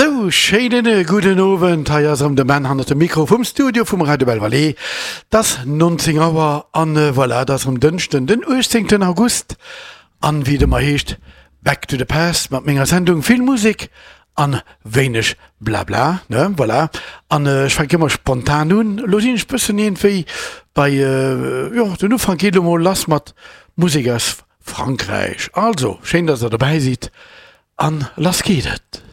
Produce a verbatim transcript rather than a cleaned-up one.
Sou, schéinen gudden Owend, hei ass erëm de Ben hannert dem Mikro vum Studio vum Radio Belle Vallée. 't ass nonzéng Auer an voilà, et ass erëm Dënschden, den uechtzéngten August an wéi et ëmmer heescht, Back to the Past mat menger Sendung vill Musek an wéineg Blabla, ne, voilà. An ech fänke ëmmer spontan un, elo sinn ech bëssen iergendwéi bei, jo, den Ufank geet elo mol lass mat Musek aus Frankräich. Also, schéin, dass der dobäi sidd an lass geet et.